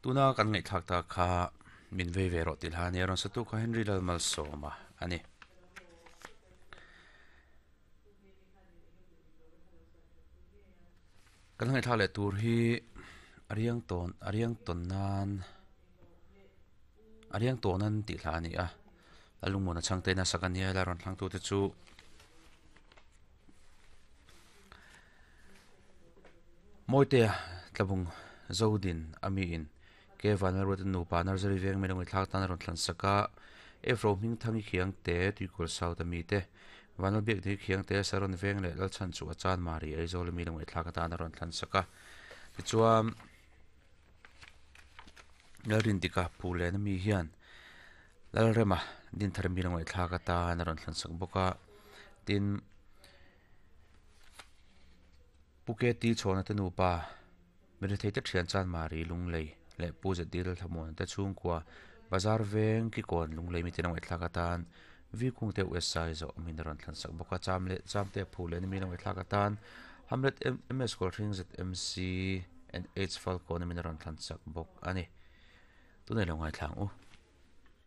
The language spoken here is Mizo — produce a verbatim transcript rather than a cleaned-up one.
Tuna kan ngaihthlak ta kha min vei ve rawh tih hla ania rawn satu kha Henry Lalmalsawma a ni. Kan ngaihthlak leh tur hi a riang tawn a riang tawn nan a riang tawn an tih hla a ni a. A lungmuan a chhangte in a sak a nia la rawn thlangtu te chu Mawitea tlabung Zodin a mi in Ke Vanlalruata nupa Nursery veng mai lawngin thlak tan a rawn thlan sak a. Efro hming Thangi Khiangte Tuikul South a mi te Vanlalbiak Dei Khiangte Saron veng leh Lalchhan chu a chan Mari Aizawl a mi lawngin thlak atan a rawn thlan sak a. Tichuan Lalrindika Phulen a mi hian Lalrema Dinthar mi lawngin thlak atan a rawn thlan sak bawk a. Tin Pu K T Chhawna te nupa Mirethei te thian chan Mari Lunglei leh Pu Z D Lalthlamuana te chhungkua Bazar veng Kikawn Lunglei miten a ngaihthlak atan V Kung te U S I zawh min a rawn thlan sak bawk a cham leh cham te a phu leh min a ngaihthlak atan Hamlet M S Kawlhring Z M C and H Falkawn min a rawn thlan sak bawk a ni. Tunah i lo ngaithla ang u.